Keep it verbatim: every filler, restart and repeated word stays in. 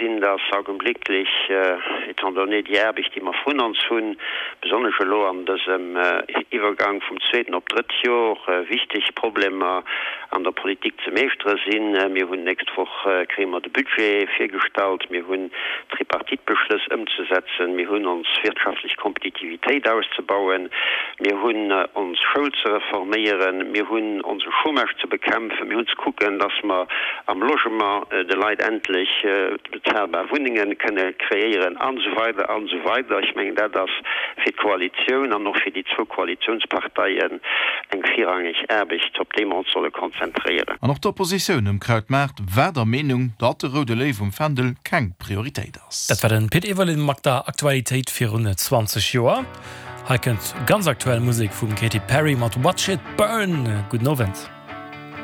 gesinn, dass augenblicklech, étant donné déi Aarbecht, déi mer vrun ons hunn, besonnesch elo an dësem Iwwergang vum zweeten op d'drëtt Jor, wichteg Problemer an der Politik ze meeschtere sinn. Mir hunn d'nächst Woch kréie mer de Budget virgestallt, mir hunn d'Tripartite-Beschlëss ëmzesetzen, mir hunn ons wirtschaftlech Kompetitivitéit auszebauen, mir hunn ons Schoul ze reforméieren, mir hunn onse Chômage ze bekämpfen, mir hunn ze kucken, dass mer am Logement de Leit endlech bezahlbar Wunnenge kënne kreéieren an esou weider an esou weider. Ech mengen, dat ass fir d'Koalitioun an och fir déi zwou Koalitiounsparteien eng virrangeg Aarbecht, op déi mer ons solle konzentréieren. An och d'Oppositioun um Krautmaart war der Meenung, datt de roude Léiw um Fändel keng Prioritéit ass. Dat war den Pit Everling mat der Aktualitéit virun zwanzeg Joer. Hei kënnt ganz aktuell Musek vum Katy Perry mat Watch It Burn. Gudden Owend.